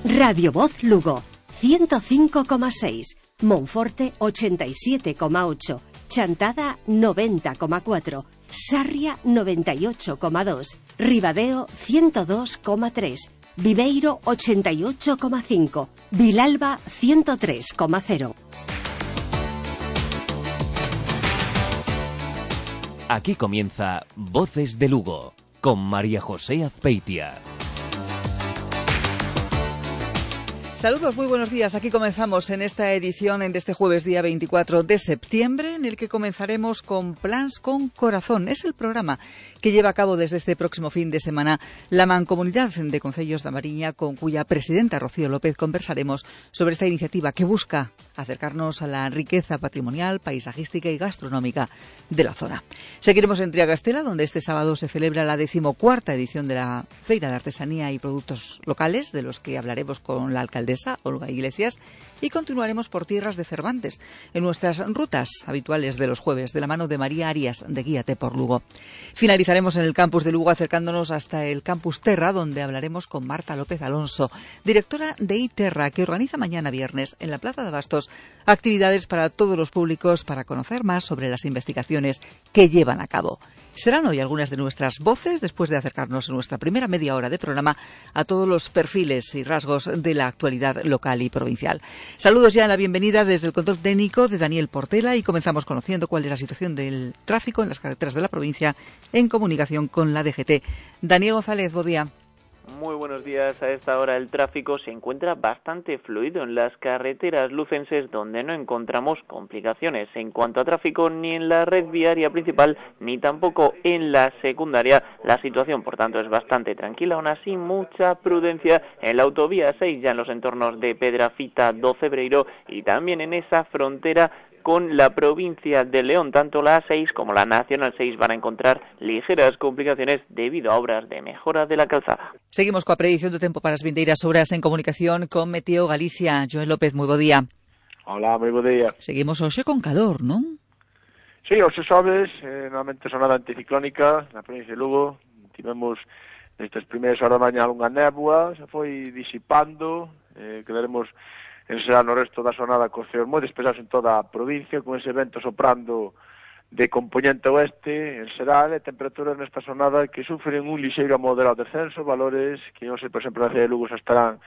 Radio Voz Lugo, 105,6, Monforte 87,8, Chantada 90,4, Sarria 98,2, Ribadeo 102,3, Viveiro 88,5, Vilalba 103,0. Aquí comienza Voces de Lugo, con María José Azpeitia. Saludos, muy buenos días. Aquí comenzamos en esta edición de este jueves día 24 de septiembre, en el que comenzaremos con Plans con Corazón. Es el programa que lleva a cabo desde este próximo fin de semana la Mancomunidad de Concellos da Mariña, con cuya presidenta Rocío López conversaremos sobre esta iniciativa que busca acercarnos a la riqueza patrimonial, paisajística y gastronómica de la zona. Seguiremos en Triagastela, donde este sábado se celebra la 14ª edición de la Feira de Artesanía y Productos Locales, de los que hablaremos con la alcaldesa Olga Iglesias, y continuaremos por tierras de Cervantes, en nuestras rutas habituales de los jueves, de la mano de María Arias, de Guíate por Lugo. Finalizaremos en el campus de Lugo, acercándonos hasta el campus Terra, donde hablaremos con Marta López Alonso, directora de iTerra, que organiza mañana viernes en la Plaza de Abastos actividades para todos los públicos para conocer más sobre las investigaciones que llevan a cabo. Serán hoy algunas de nuestras voces, después de acercarnos en nuestra primera media hora de programa a todos los perfiles y rasgos de la actualidad local y provincial. Saludos ya en la bienvenida desde el control técnico de Daniel Portela, y comenzamos conociendo cuál es la situación del tráfico en las carreteras de la provincia en comunicación con la DGT. Daniel González, buen día. Muy buenos días. A esta hora el tráfico se encuentra bastante fluido en las carreteras lucenses, donde no encontramos complicaciones en cuanto a tráfico ni en la red viaria principal ni tampoco en la secundaria. La situación, por tanto, es bastante tranquila. Aún así, mucha prudencia en la autovía 6, ya en los entornos de Pedrafita do Cebreiro, y también en esa frontera con la provincia de León. Tanto la A6 como la Nacional 6 van a encontrar ligeras complicaciones debido a obras de mejora de la calzada. Seguimos coa predición do tempo para as vindeiras horas en comunicación con Meteo Galicia. Joel López, moi bo día. Hola, moi bo día. Seguimos hoxe con calor, non? Sí, hoxe xoves, normalmente sonada anticiclónica na provincia de Lugo. Tivemos nestas primeiras horas da mañá unha néboa, se foi disipando, quedaremos en será no resto da sonada con ceos moi despesados en toda a provincia, con ese vento soprando de componente oeste en Seral, e temperaturas nesta sonada que sufren un lixeiro a moderado descenso, valores que, non sei, por exemplo, na cidade de Lugo xa estarán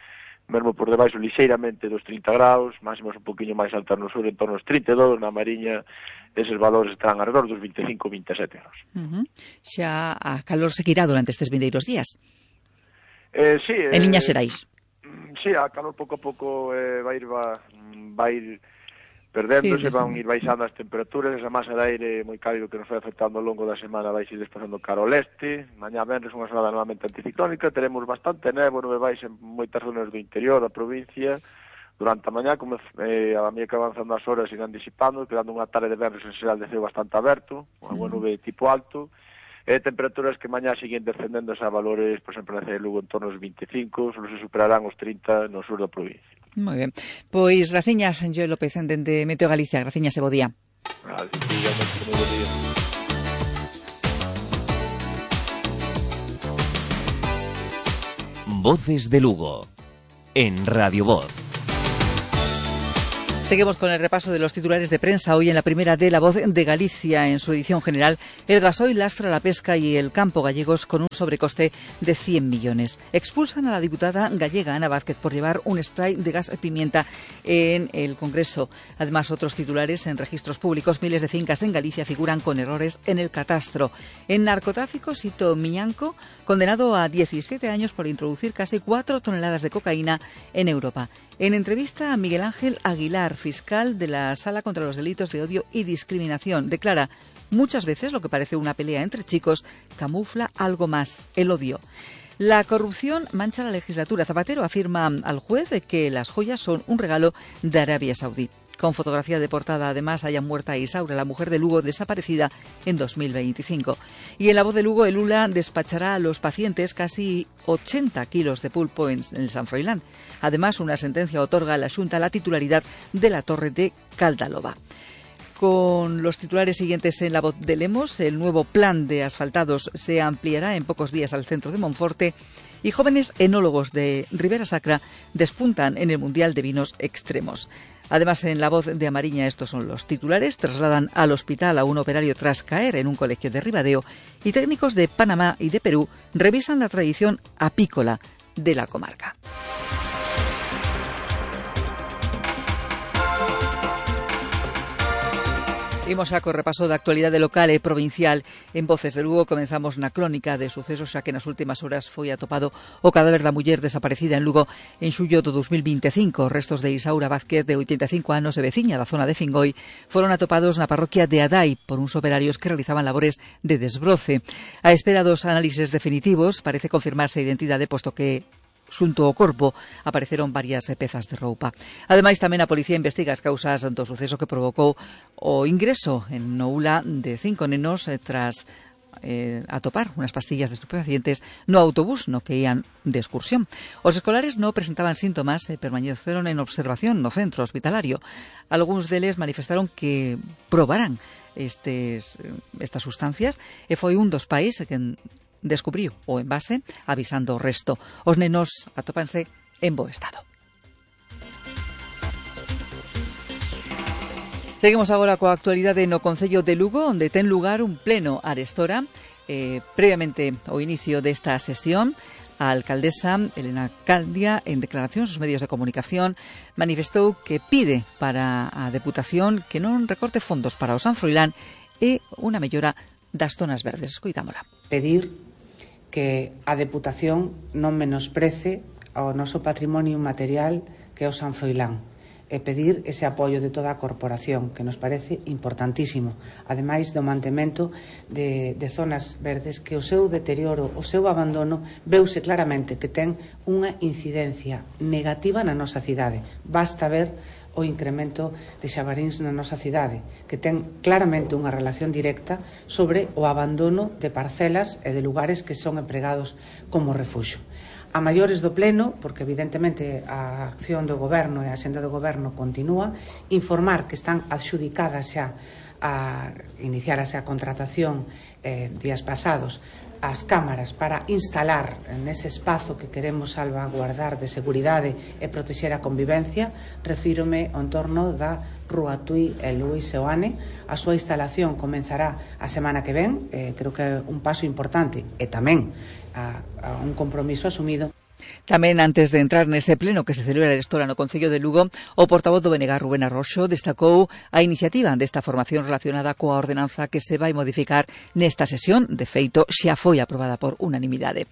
mesmo por debaixo lixeiramente dos 30 graus, máximos un poquinho máis altas no sur, en torno aos 32, na Mariña eses valores estarán alrededor dos 25-27 graus. Xa a calor seguirá durante estes vindeiros días? Sí. En liñas xerais. Sí, a calor pouco a pouco vai ir perdéndose, sí, van ir baixando as temperaturas, esa masa de aire moi cálido que nos vai afectando ao longo da semana vai ir desplazando cara ao leste. Mañá venres unha sonada normalmente anticiclónica, teremos bastante néboa, nube baixa en moitas zonas do interior da provincia. Durante a mañá, como a medida que avanzando as horas, irán disipando, quedando unha tarde de venres en xeral de ceo bastante aberto, unha boa nube tipo alto. Temperaturas que mañá siguen descendendo a valores, por exemplo, na cidade de Lugo en torno aos 25, solo se superarán os 30 no sur da provincia. Moi ben. Pois graciñas, Joel López, dende Meteo Galicia. Graciñas e bo día. Vale, moi bo día. Voces de Lugo, en Radio Voz. Seguimos con el repaso de los titulares de prensa. Hoy en la primera de La Voz de Galicia, en su edición general, el gasoil lastra la pesca y el campo gallegos con un sobrecoste de 100 millones. Expulsan a la diputada gallega Ana Vázquez por llevar un spray de gas pimienta en el Congreso. Además, otros titulares: en registros públicos, miles de fincas en Galicia figuran con errores en el catastro. En narcotráfico, Sito Miñanco, condenado a 17 años por introducir casi 4 toneladas de cocaína en Europa. En entrevista a Miguel Ángel Aguilar, fiscal de la Sala contra los Delitos de Odio y Discriminación, declara: muchas veces lo que parece una pelea entre chicos camufla algo más, el odio. La corrupción mancha la legislatura. Zapatero afirma al juez que las joyas son un regalo de Arabia Saudí. Con fotografía de portada, además, haya muerta a Isaura, la mujer de Lugo desaparecida en 2025. Y en La Voz de Lugo, el ULA despachará a los pacientes casi 80 kilos de pulpo en el San Froilán. Además, una sentencia otorga a la Xunta la titularidad de la Torre de Caldaloba. Con los titulares siguientes en La Voz de Lemos, el nuevo plan de asfaltados se ampliará en pocos días al centro de Monforte. y jóvenes enólogos de Ribera Sacra despuntan en el Mundial de Vinos Extremos. Además, en La Voz de Amariña, estos son los titulares: trasladan al hospital a un operario tras caer en un colegio de Ribadeo, y técnicos de Panamá y de Perú revisan la tradición apícola de la comarca. Imos a co repaso da actualidade local e provincial. En Voces de Lugo comenzamos na crónica de sucesos, xa que nas últimas horas foi atopado o cadáver da muller desaparecida en Lugo en xullo do 2025. Os restos de Isaura Vázquez, de 85 anos e veciña da zona de Fingoi, foron atopados na parroquia de Adai por uns operarios que realizaban labores de desbroce. A espera dos análises definitivos parece confirmarse a identidade, posto que xunto ao corpo apareceron varias pezas de roupa. Ademais, tamén a policía investiga as causas do suceso que provocou o ingreso en Noula de 5 nenos tras atopar unhas pastillas de estupefacientes no autobús no que ían de excursión. Os escolares non presentaban síntomas e permaneceron en observación no centro hospitalario. Algúns deles manifestaron que probarán estas sustancias, e foi un dos pais que descubriu o envase avisando o resto. Os nenos atópanse en bo estado. Seguimos agora coa actualidade no Concello de Lugo, onde ten lugar un pleno arestora. Previamente ao inicio desta sesión, a alcaldesa Elena Candia, en declaracións aos medios de comunicación, manifestou que pide para a Deputación que non recorte fondos para o San Froilán e unha mellora das zonas verdes. Escoitámola. Pedir que a Deputación non menosprece ao noso patrimonio material que é o San Froilán, e pedir ese apoio de toda a corporación, que nos parece importantísimo, ademais do mantemento de zonas verdes, que o seu deterioro, o seu abandono, veuse claramente que ten unha incidencia negativa na nosa cidade. Basta ver o incremento de xabaríns na nosa cidade, que ten claramente unha relación directa sobre o abandono de parcelas e de lugares que son empregados como refuxo. A maiores do pleno, porque evidentemente a acción do goberno e a axenda do goberno continúa, informar que están adxudicadas xa a iniciarase a contratación días pasados as cámaras para instalar nese espazo que queremos salvaguardar de seguridade e protexer a convivencia. Refírome ao entorno da Rúa Tui e Luís Seoane. A súa instalación comenzará a semana que ven, creo que é un paso importante e tamén a un compromiso asumido. Tamén, antes de entrar nese pleno que se celebra arestora no Concello de Lugo, o portavoz do BNG, Rubén Arroxo, destacou a iniciativa desta formación relacionada coa ordenanza que se vai modificar nesta sesión. De feito, xa foi aprobada por unanimidade.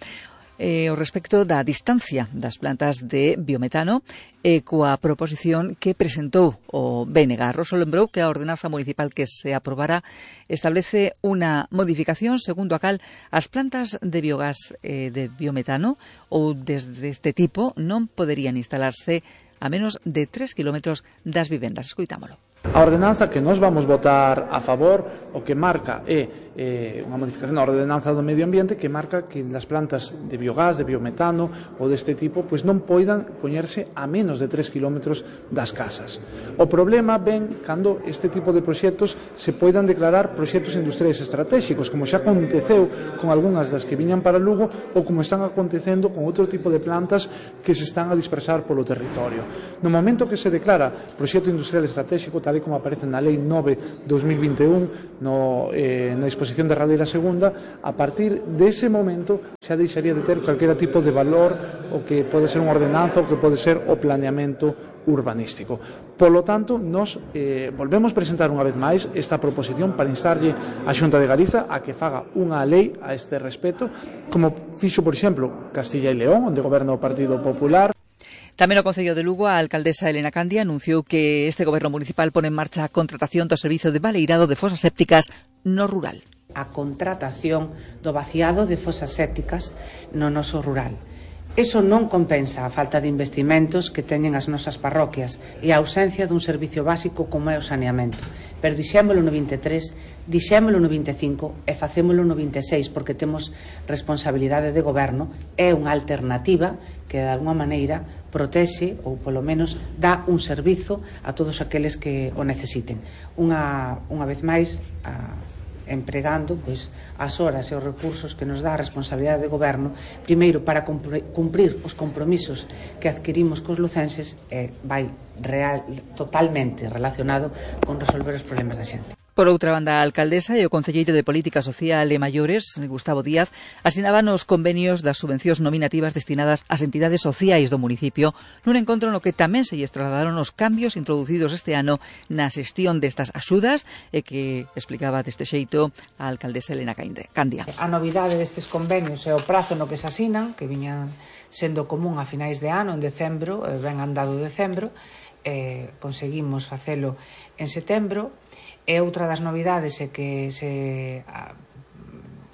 O respecto da distancia das plantas de biometano e coa proposición que presentou o BNG. Arroxo lembrou que a ordenanza municipal que se aprobará establece unha modificación segundo a cal as plantas de biogás de biometano ou desde este tipo non poderían instalarse a menos de 3 kilómetros das vivendas. Escoitámolo. A ordenanza que nos vamos votar a favor o que marca é unha modificación da ordenanza do medio ambiente que marca que as plantas de biogás, de biometano ou deste tipo pois non poidan poñerse a menos de 3 kilómetros das casas. O problema ven cando este tipo de proxectos se poidan declarar proxectos industriais estratégicos, como xa aconteceu con algunhas das que viñan para Lugo ou como están acontecendo con outro tipo de plantas que se están a dispersar polo territorio. No momento que se declara proxecto industrial estratégico, tal e como aparece na Lei 9/2021 na disposición derradeira segunda, a partir dese momento xa deixaría de ter calquera tipo de valor o que pode ser unha ordenanza ou que pode ser o planeamento urbanístico. Polo tanto, nos volvemos presentar unha vez máis esta proposición para instarlle a Xunta de Galiza a que faga unha lei a este respecto, como fixo, por exemplo, Castilla e León, onde goberna o Partido Popular. Tamén no Concello de Lugo, a alcaldesa Elena Candia anunciou que este goberno municipal pone en marcha a contratación do servizo de baleirado de fosas sépticas no rural. A contratación do vaciado de fosas sépticas no noso rural. Eso non compensa a falta de investimentos que teñen as nosas parroquias e a ausencia dun servicio básico como é o saneamento. Pero dixémolo no 23, dixémolo no 25 e facémolo no 26 porque temos responsabilidade de goberno. É unha alternativa que de alguma maneira protexe ou polo menos dá un servizo a todos aqueles que o necesiten. Unha vez máis, empregando pois, as horas e os recursos que nos dá a responsabilidade de goberno, primeiro para cumprir os compromisos que adquirimos cos lucenses, vai totalmente relacionado con resolver os problemas da xente. Por outra banda, a alcaldesa e o concelleiro de Política Social e Maiores, Gustavo Díaz, asinaban os convenios das subvencións nominativas destinadas ás entidades sociais do municipio nun encontro no que tamén se lles trasladaron os cambios introducidos este ano na xestión destas axudas e que explicaba deste xeito a alcaldesa Elena Candia. A novidade destes convenios é o prazo no que se asinan, que viñan sendo común a finais de ano, en decembro, ben andado decembro, conseguimos facelo en setembro. E outra das novidades é que se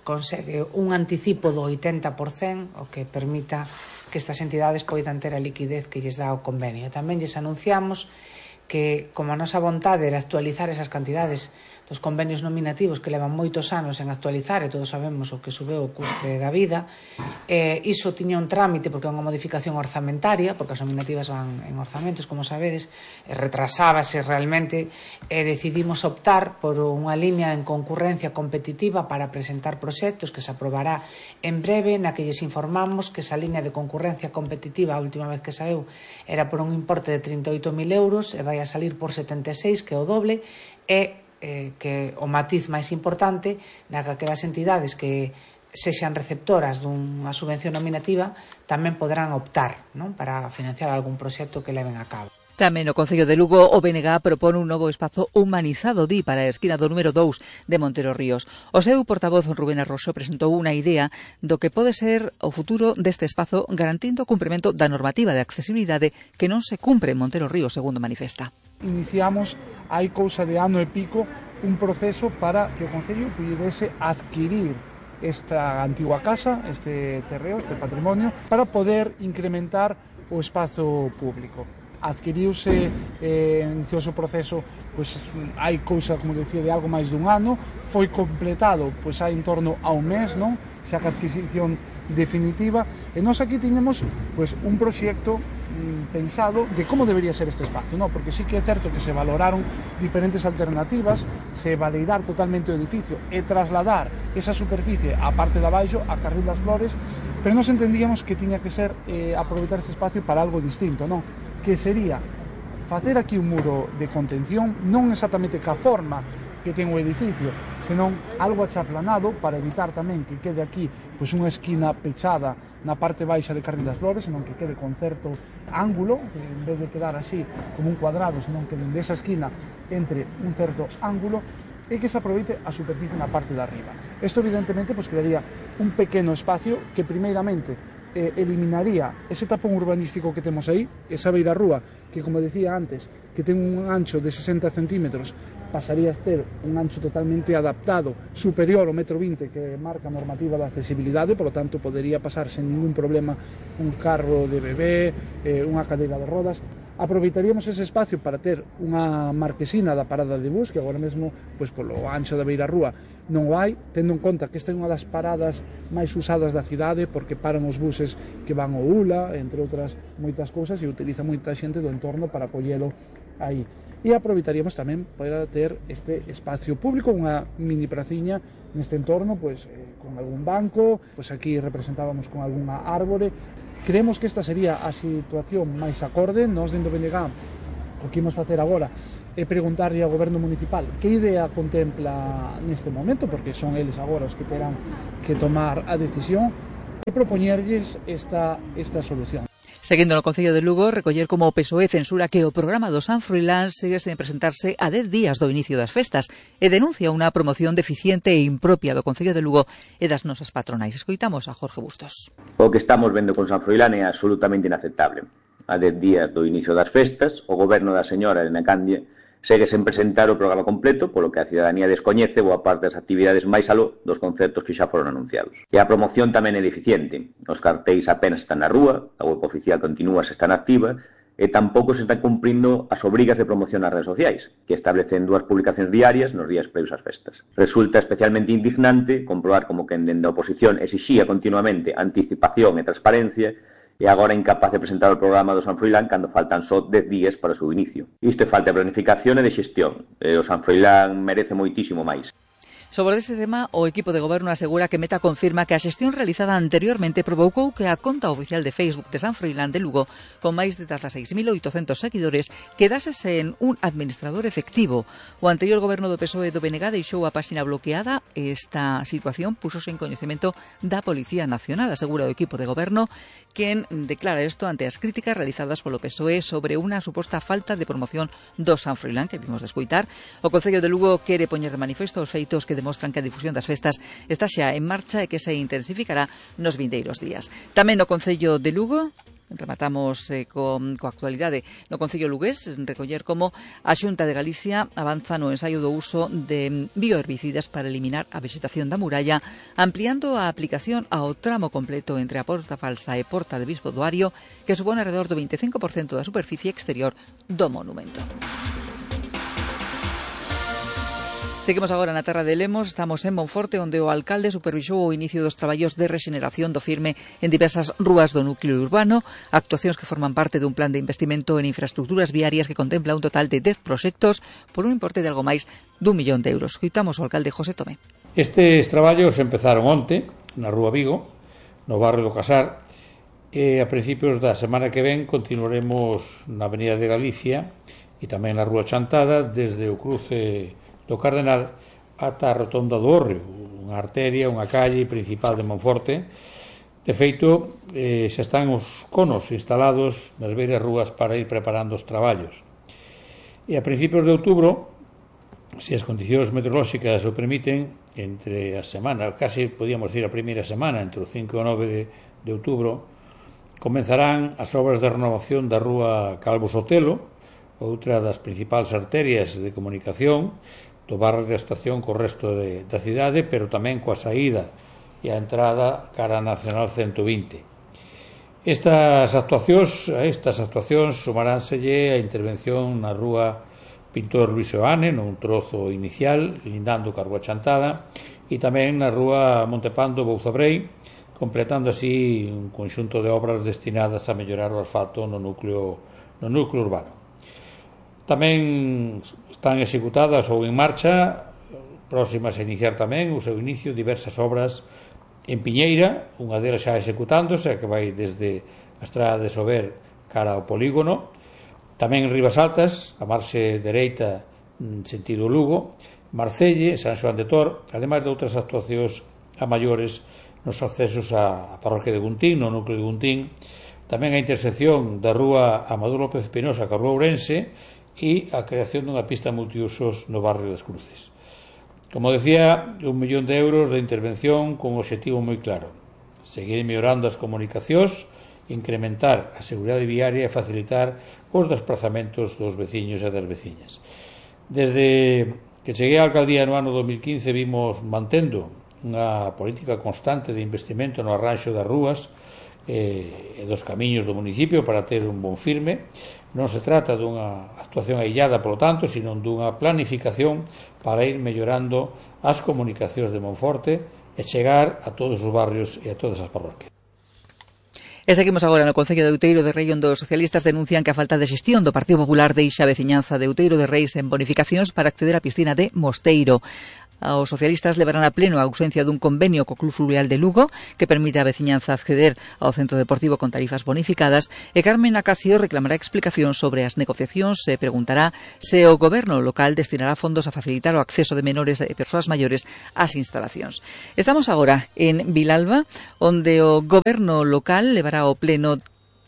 consegue un anticipo do 80%, o que permita que estas entidades poidan ter a liquidez que lles dá o convenio. Tamén lles anunciamos que, como a nosa vontade era actualizar esas cantidades dos convenios nominativos que levan moitos anos en actualizar, e todos sabemos o que subeu o custe da vida, iso tiña un trámite porque é unha modificación orzamentaria, porque as nominativas van en orzamentos, como sabedes, retrasábase realmente, e decidimos optar por unha línea en concurrencia competitiva para presentar proxectos que se aprobará en breve, na que lles informamos que esa línea de concurrencia competitiva, a última vez que saeu, era por un importe de 38.000 euros e vai a salir por 76, que é o doble, e que o matiz máis importante na que aquelas entidades que sexan receptoras dunha subvención nominativa tamén poderán optar, non, para financiar algún proxecto que leven a cabo. Tamén no Concello de Lugo o BNG propone un novo espazo humanizado para a esquina do número 2 de Montero Ríos. O seu portavoz Rubén Arroxo presentou unha idea do que pode ser o futuro deste espazo garantindo o cumprimento da normativa de accesibilidade que non se cumpre en Montero Ríos, segundo manifesta. Iniciamos hai cousa de ano e pico un proceso para que o Concello pudese adquirir esta antigua casa, este terreo, este patrimonio, para poder incrementar o espazo público. Adquiriuse, iniciouse o proceso, pois hai cousa, como decía, de algo máis dun ano, foi completado pois hai en torno a un mes, non? Xa que a adquisición definitiva, e nós aquí tiñemos pois un proxecto pensado de como debería ser este espacio, non? Porque sí que é certo que se valoraron diferentes alternativas, se valeirar totalmente o edificio e trasladar esa superficie á parte de abaixo, a Carril das Flores, pero nós entendíamos que tiña que ser aproveitar este espacio para algo distinto, non? Que sería facer aquí un muro de contención, non exactamente ca forma que ten o edificio, senón algo achaplanado para evitar tamén que quede aquí pois unha esquina pechada na parte baixa de Carril das Flores, senón que quede con certo ángulo, que en vez de quedar así como un cuadrado, senón que dende esa esquina entre un certo ángulo e que se aproveite a superficie na parte de arriba. Isto evidentemente pois crearía un pequeno espacio que primeiramente eliminaría ese tapón urbanístico que temos aí, esa beirarrúa que, como decía antes, que ten un ancho de 60 centímetros, pasaría a ter un ancho totalmente adaptado, superior ao 1,20 m que marca a normativa da accesibilidade, por lo tanto podería pasar sen ningún problema un carro de bebé, unha cadeira de rodas. Aproveitaríamos ese espacio para ter unha marquesina da parada de bus, que agora mesmo, pois polo ancho da beirarrúa non o hai, tendo en conta que esta é unha das paradas máis usadas da cidade, porque paran os buses que van ao ULA, entre outras moitas cousas, e utiliza moita xente do entorno para collelo aí. E aproveitaríamos tamén para ter este espacio público, unha mini praciña neste entorno, pois con algún banco, pois aquí representábamos con algunha árbore. Creemos que esta sería a situación máis acorde. Nós dentro do BNG o que imos facer agora é preguntarlle ao goberno municipal que idea contempla neste momento, porque son eles agora os que terán que tomar a decisión, e propoñerlles esta solución. Seguindo no Concello de Lugo, recoller como o PSOE censura que o programa do San Froilán segue sen presentarse a 10 días do inicio das festas e denuncia unha promoción deficiente e impropia do Concello de Lugo e das nosas patronais. Escoitamos a Jorge Bustos. O que estamos vendo con San Froilán é absolutamente inaceptable. A 10 días do inicio das festas, o goberno da señora Elena Candia segue sen presentar o programa completo, polo que a cidadanía descoñece boa parte das actividades máis aló dos concertos que xa foron anunciados. E a promoción tamén é deficiente. Os cartéis apenas están na rúa, a web oficial continúa se están activa, e tampouco se están cumprindo as obrigas de promoción nas redes sociais, que establecen 2 publicacións diarias nos días previos ás festas. Resulta especialmente indignante comprobar como que dende a oposición exixía continuamente anticipación e transparencia e agora incapaz de presentar o programa do San Froilán cando faltan só 10 días para o seu inicio. Isto é falta de planificación e de xestión, e o San Froilán merece moitísimo máis. Sobre este tema, o equipo de goberno asegura que Meta confirma que a xestión realizada anteriormente provocou que a conta oficial de Facebook de San Froilán de Lugo, con máis de 16.800 seguidores, quedase sen un administrador efectivo. O anterior goberno do PSOE do BNG deixou a páxina bloqueada e esta situación pusose en coñecemento da Policía Nacional, asegura o equipo de goberno, quen declara isto ante as críticas realizadas polo PSOE sobre unha suposta falta de promoción do San Froilán que vimos de escoitar. O Concello de Lugo quere poñer de manifesto os feitos que demostran que a difusión das festas está xa en marcha e que se intensificará nos vindeiros días. Tamén no Concello de Lugo, rematamos coa actualidade no Concello lugués, recoller como a Xunta de Galicia avanza no ensaio do uso de bioherbicidas para eliminar a vexetación da muralla, ampliando a aplicación ao tramo completo entre a Porta Falsa e Porta de Bispo do Ario, que supone alrededor do 25% da superficie exterior do monumento. Seguimos agora na terra de Lemos, estamos en Monforte, onde o alcalde supervisou o inicio dos traballos de rexeneración do firme en diversas rúas do núcleo urbano, actuacións que forman parte dun plan de investimento en infraestructuras viarias que contempla un total de 10 proxectos por un importe de algo máis d'1 millón de euros. Escoitamos o alcalde José Tomé. Estes traballos empezaron onte na Rúa Vigo, no barrio do Casar, e a principios da semana que ven continuaremos na Avenida de Galicia e tamén na Rúa Chantada, desde o cruce do Cardenal ata a Rotonda do Hórreo, unha arteria, unha calle principal de Monforte. De feito, xa están os conos instalados nas beiras rúas para ir preparando os traballos. E a principios de outubro, se as condicións meteorolóxicas o permiten, entre a semana, casi podíamos decir a primeira semana, entre o 5 e o 9 de outubro, comenzarán as obras de renovación da Rúa Calvo Sotelo, outra das principais arterias de comunicación do barrio da estación co resto da cidade, pero tamén coa saída e a entrada cara a Nacional 120. Estas actuacións sumaránselle a intervención na Rúa Pintor Luis Oane, nun trozo inicial, lindando ca Rúa Chantada, e tamén na Rúa Montepando Bouzabrei, completando así un conxunto de obras destinadas a mellorar o asfalto no núcleo urbano. Tamén están executadas ou en marcha, próximas a iniciar tamén o seu inicio, diversas obras en Piñeira, unha delas xa executándose, que vai desde a estrada de Sober cara ao polígono, tamén en Ribas Altas, a marxe dereita en sentido Lugo, Marcelle, San Xoán de Tor, ademais de outras actuacións a maiores nos accesos á parroquia de Guntín, no núcleo de Guntín, tamén a intersección da Rúa Amador López Pinosa ca Rúa Ourense, e a creación dunha pista multiusos no barrio das Cruces. Como decía, 1 millón de euros de intervención con un objetivo moi claro: seguir mellorando as comunicacións, incrementar a seguridade viaria e facilitar os desplazamentos dos veciños e das veciñas. Desde que cheguei á alcaldía no ano 2015 vimos mantendo unha política constante de investimento no arranxo das rúas e dos camiños do municipio para ter un bon firme. Non se trata dunha actuación aillada, polo tanto, sino dunha planificación para ir mellorando as comunicacións de Monforte e chegar a todos os barrios e a todas as parroquias. E seguimos agora no Concello de Outeiro de Rei, onde os socialistas denuncian que a falta de xestión do Partido Popular deixa a veciñanza de Outeiro de Reis en bonificacións para acceder á piscina de Mosteiro. Os socialistas levarán a pleno a ausencia dun convenio co Club Fluvial de Lugo que permite á veciñanza acceder ao centro deportivo con tarifas bonificadas, e Carmen Acacio reclamará explicación sobre as negociacións e preguntará se o goberno local destinará fondos a facilitar o acceso de menores e persoas maiores ás instalacións. Estamos agora en Vilalba, onde o goberno local levará ao pleno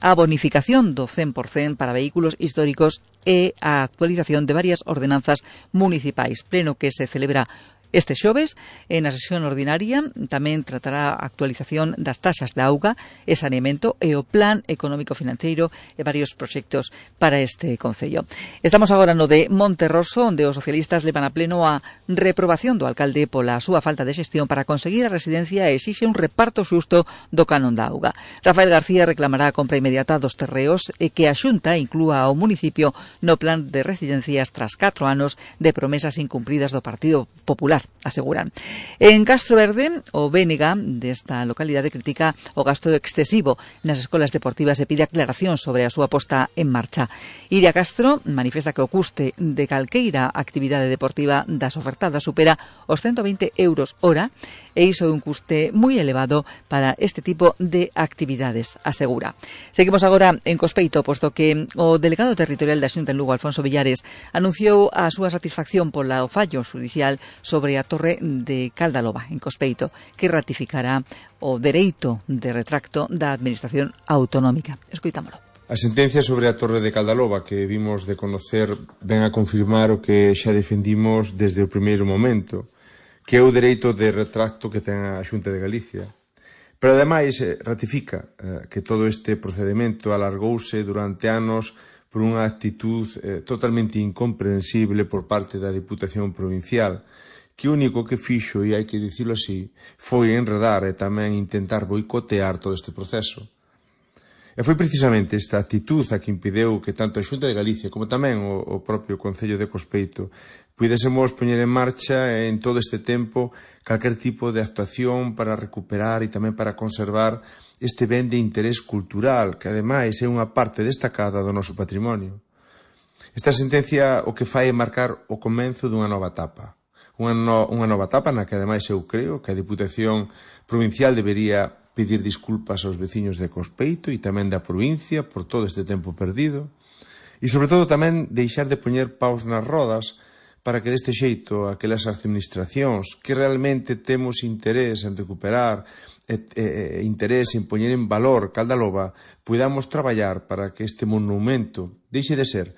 a bonificación do 100% para vehículos históricos e a actualización de varias ordenanzas municipais, pleno que se celebra este xoves. En a sesión ordinaria tamén tratará a actualización das taxas de auga e saneamento e o plan económico-financeiro e varios proxectos para este concello. Estamos agora no de Monterroso, onde os socialistas levan a pleno a reprobación do alcalde pola súa falta de xestión para conseguir a residencia e exixe un reparto xusto do canon da auga. Rafael García reclamará a compra inmediata dos terreos e que a Xunta inclúa ao municipio no plan de residencias tras 4 anos de promesas incumpridas do Partido Popular. aseguran. En Castroverde, o Bénega desta localidade critica o gasto excesivo nas escolas deportivas e pide aclaración sobre a súa posta en marcha. Iria Castro manifesta que o custe de calqueira actividade deportiva das ofertadas supera os 120 euros hora e iso é un custe moi elevado para este tipo de actividades, asegura. Seguimos agora en Cospeito, posto que o delegado territorial da Xunta en Lugo, Alfonso Villares, anunciou a súa satisfacción pola fallo judicial sobre a Torre de Caldaloba, en Cospeito, que ratificará o dereito de retracto da Administración Autonómica. Escoitámolo. A sentencia sobre a Torre de Caldaloba que vimos de conocer ven a confirmar o que xa defendimos desde o primeiro momento, que é o dereito de retracto que ten a Xunta de Galicia. Pero ademais ratifica que todo este procedimento alargouse durante anos por unha actitud totalmente incomprensible por parte da Diputación Provincial, que o único que fixo, e hai que dicilo así, foi enredar e tamén intentar boicotear todo este proceso. E foi precisamente esta actitud a que impideu que tanto a Xunta de Galicia como tamén o propio Concello de Cospeito pudésemos poñer en marcha en todo este tempo calquer tipo de actuación para recuperar e tamén para conservar este ben de interés cultural, que ademais é unha parte destacada do noso patrimonio. Esta sentencia o que fai é marcar o comenzo dunha nova etapa. Unha nova etapa na que ademais eu creo que a Diputación Provincial debería pedir disculpas aos veciños de Cospeito e tamén da provincia por todo este tempo perdido e sobre todo tamén deixar de poñer paus nas rodas para que deste xeito aquelas administracións que realmente temos interés en recuperar interés en poñer en valor Caldaloba podamos traballar para que este monumento deixe de ser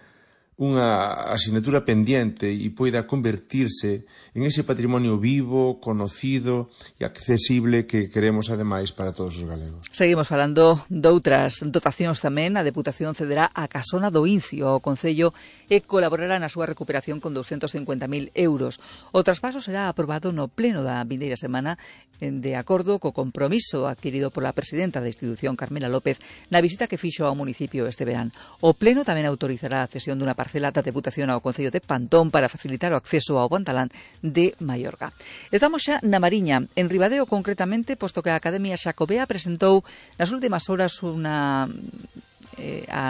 unha asignatura pendiente e poida convertirse en ese patrimonio vivo, conocido e accesible que queremos ademais para todos os galegos. Seguimos falando doutras dotacións tamén. A Deputación cederá a Casona do Incio ao Concello e colaborará na súa recuperación con 250.000 euros. O traspaso será aprobado no pleno da vindeira semana de acordo co compromiso adquirido pola presidenta da institución, Carmela López, na visita que fixo ao municipio este verán. O pleno tamén autorizará a cesión dunha parcela da Deputación ao Concello de Pantón para facilitar o acceso ao Pantalán de Mallorca. Estamos xa na Mariña, en Ribadeo concretamente, posto que a Academia Xacobea presentou nas últimas horas a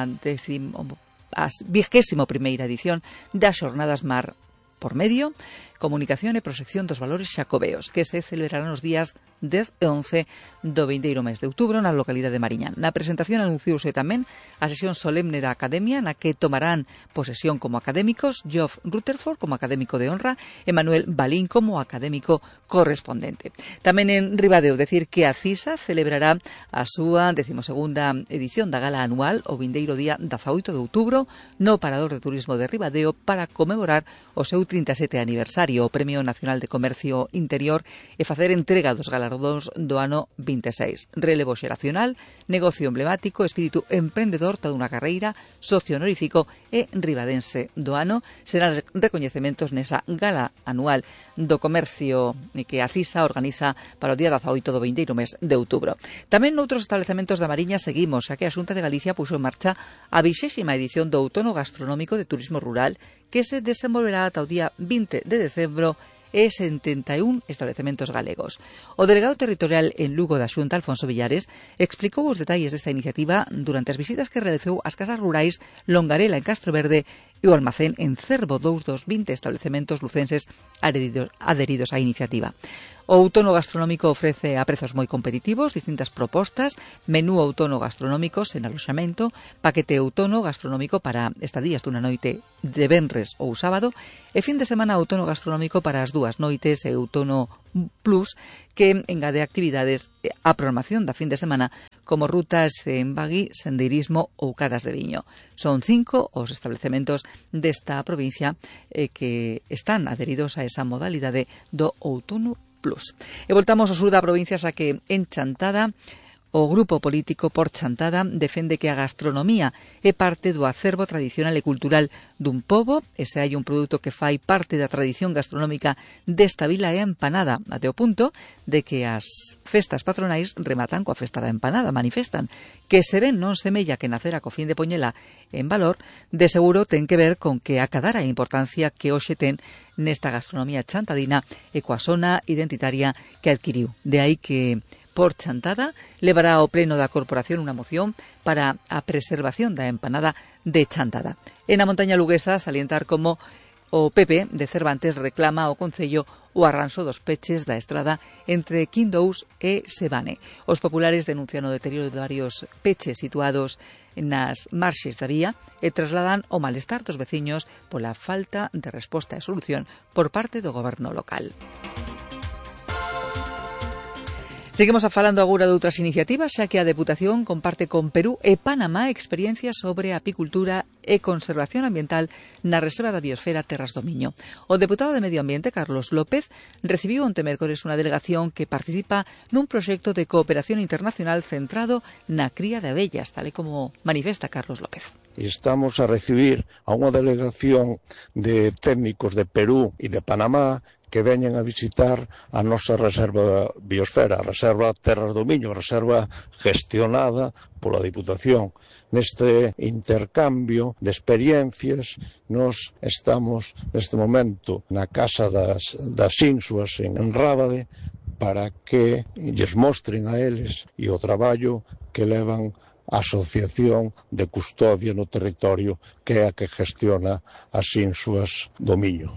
21ª edición das Xornadas Mar por Medio, Comunicación e Proxección dos Valores Xacobeos, que se celebrarán os días 10 e 11 do vindeiro mes de outubro na localidade de Mariñán. Na presentación anunciouse tamén a sesión solemne da Academia, na que tomarán posesión como académicos Geoff Rutherford como académico de honra e Manuel Balín como académico correspondente. Tamén en Ribadeo, decir que a CISA celebrará a súa 12ª edición da gala anual o vindeiro día 18 de outubro no Parador de Turismo de Ribadeo para conmemorar o seu 37 aniversario, o Premio Nacional de Comercio Interior e facer entrega dos galardóns do ano 26. Relevo xeracional, negocio emblemático, espírito emprendedor, toda unha carreira, socio honorífico e ribadense do ano serán recoñecementos nesa gala anual do comercio que a CISA organiza para o día 18 do vindeiro mes de outubro. Tamén noutros establecementos da Mariña seguimos, xa que a Xunta de Galicia puxo en marcha a 20ª edición do Outono Gastronómico de Turismo Rural que se desenvolverá ata o día 20 de decembro e 71 establecementos galegos. O delegado territorial en Lugo da Xunta, Alfonso Villares, explicou os detalles desta iniciativa durante as visitas que realizou ás casas rurais Longarela en Castroverde e o almacén en Cervo, dous dos 20 establecementos lucenses adheridos á iniciativa. O outono gastronómico ofrece a prezos moi competitivos distintas propostas: menú outono gastronómico sen aloxamento, paquete outono gastronómico para estadías dunha noite de venres ou sábado e fin de semana outono gastronómico para as dúas noites e outono plus que engade actividades á programación da fin de semana como rutas en bagui, sendeirismo ou cadas de viño. Son 5 os establecementos desta provincia que están adheridos a esa modalidade do outono plus. E voltamos ao sur da provincia, xa que en Chantada O grupo político Por Chantada defende que a gastronomía é parte do acervo tradicional e cultural dun pobo, e se hai un produto que fai parte da tradición gastronómica desta vila é a empanada, até o punto de que as festas patronais rematan coa festa da empanada, manifestan que se ven non semella que nacera co fin de poñela en valor, de seguro ten que ver con que acadara a importancia que hoxe ten nesta gastronomía chantadina e coa zona identitaria que adquiriu. De aí que Por Chantada levará ao pleno da corporación unha moción para a preservación da empanada de Chantada. En a montaña luguesa, salientar como o PP de Cervantes reclama ao Concello o arranxo dos peches da estrada entre Quindous e Sebane. Os populares denuncian o deterioro de varios peches situados nas marxes da vía e trasladan o malestar dos veciños pola falta de resposta e solución por parte do goberno local. Seguimos falando agora de outras iniciativas, xa que a Deputación comparte con Perú e Panamá experiencias sobre apicultura e conservación ambiental na Reserva da Biosfera Terras do Miño. O deputado de Medio Ambiente, Carlos López, recibiu onte mércores unha delegación que participa nun proxecto de cooperación internacional centrado na cría de abellas, tal e como manifesta Carlos López. Estamos a recibir a unha delegación de técnicos de Perú e de Panamá que veñen a visitar a nosa Reserva Biosfera, a Reserva Terras do Miño, a reserva gestionada pola Diputación. Neste intercambio de experiencias, nos estamos neste momento na Casa das Insuas en Rábade para que lles mostren a eles e o traballo que levan a Asociación de Custodia no Territorio, que é a que gestiona as Insuas do Miño.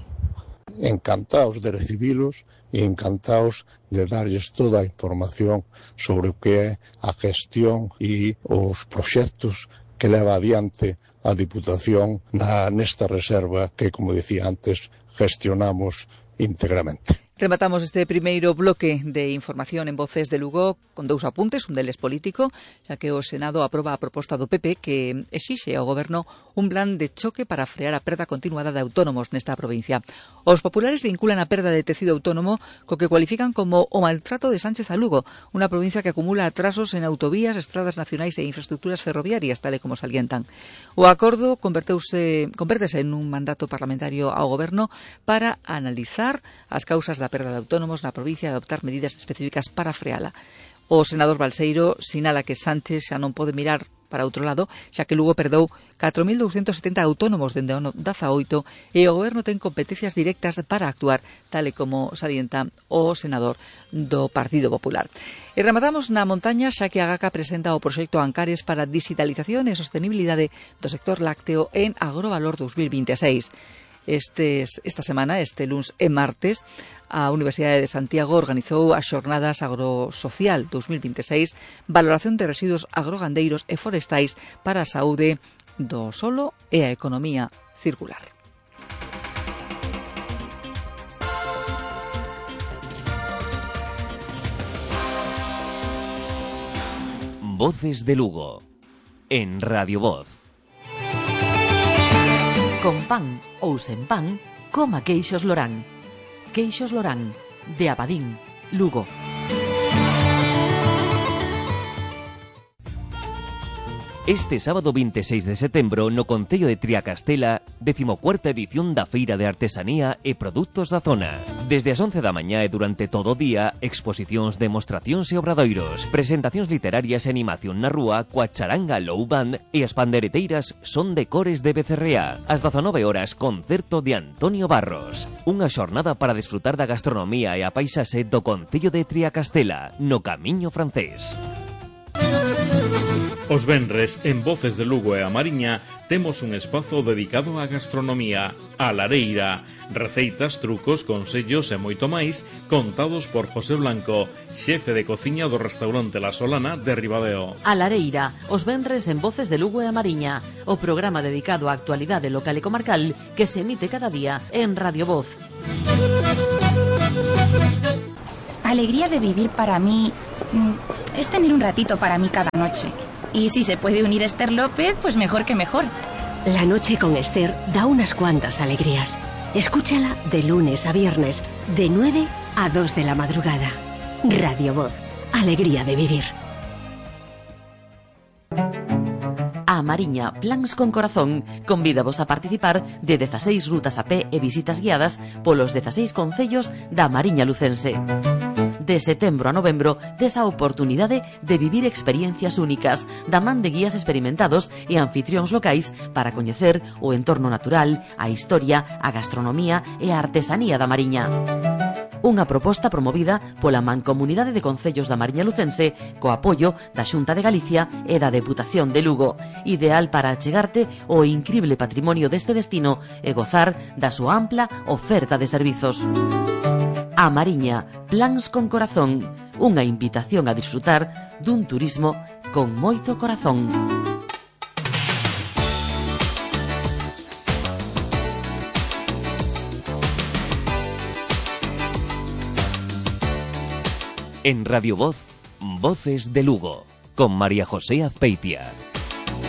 Encantados de recibilos e encantados de darlles toda a información sobre o que é a gestión e os proxectos que leva adiante a Diputación nesta reserva que, como dicía antes, gestionamos íntegramente. Rematamos este primeiro bloque de información en Voces de Lugo con dous apuntes, un deles político, xa que o Senado aproba a proposta do PP que exixe ao Goberno un plan de choque para frear a perda continuada de autónomos nesta provincia. Os populares vinculan a perda de tecido autónomo co que cualifican como o maltrato de Sánchez a Lugo, unha provincia que acumula atrasos en autovías, estradas nacionais e infraestructuras ferroviarias, tal e como salientan. O acordo convértese en un mandato parlamentario ao Goberno para analizar as causas da perda de autónomos na provincia e adoptar medidas específicas para freala. O senador Balseiro sinala que Sánchez xa non pode mirar para outro lado, xa que Lugo perdeu 4.270 autónomos dende o 18 e o Goberno ten competencias directas para actuar, tal e como salienta o senador do Partido Popular. E rematamos na montaña, xa que a GACA presenta o proxecto Ancares para a digitalización e sostenibilidade do sector lácteo en Agrovalor 2026. Esta semana, este luns e martes, a Universidade de Santiago organizou as Xornadas Agrosocial 2026, valoración de residuos agrogandeiros e forestais para a saúde do solo e a economía circular. Voces de Lugo, en Radio Voz. Con pan ou sen pan, coma queixos Lorán. Queixos Lorán, de Abadín, Lugo. Este sábado 26 de setembro no Concello de Triacastela, 14ª edición da Feira de Artesanía e Produtos da Zona. Desde as 11 da mañá e durante todo o día, exposicións, demostracións e obradoiros, presentacións literarias e animación na rúa coa charanga Low Band e as pandereteiras Son de Cores de Becerrea. Ás 19 horas, concerto de Antonio Barros. Unha xornada para desfrutar da gastronomía e a paisaxe do Concello de Triacastela, no Camiño Francés. Os venres, en Voces de Lugo e a Mariña, temos un espazo dedicado á gastronomía, a lareira, receitas, trucos, consellos e moito máis, contados por José Blanco, xefe de cociña do restaurante La Solana de Ribadeo. A lareira, os venres en Voces de Lugo e a Mariña, o programa dedicado á actualidade local e comarcal que se emite cada día en Radio Voz. Alegría de vivir para mí es tener un ratito para mí cada noche. Y si se puede unir Esther López, pues mejor que mejor. La noche con Esther da unas cuantas alegrías. Escúchala de lunes a viernes, de 9 a 2 de la madrugada. Radio Voz, alegría de vivir. A Mariña Plans con Corazón convídavos a participar de 16 rutas a pé e visitas guiadas polos 16 concellos da Mariña lucense. De setembro a novembro tes a oportunidade de vivir experiencias únicas da man de guías experimentados e anfitrións locais para coñecer o entorno natural, a historia, a gastronomía e a artesanía da Mariña. Unha proposta promovida pola Mancomunidade de Concellos da Mariña lucense co apoio da Xunta de Galicia e da Deputación de Lugo, ideal para achegarte o incrible patrimonio deste destino e gozar da súa ampla oferta de servizos. A Mariña Plans con Corazón, unha invitación a disfrutar dun turismo con moito corazón. En Radio Voz, Voces de Lugo, con María José Azpeitia.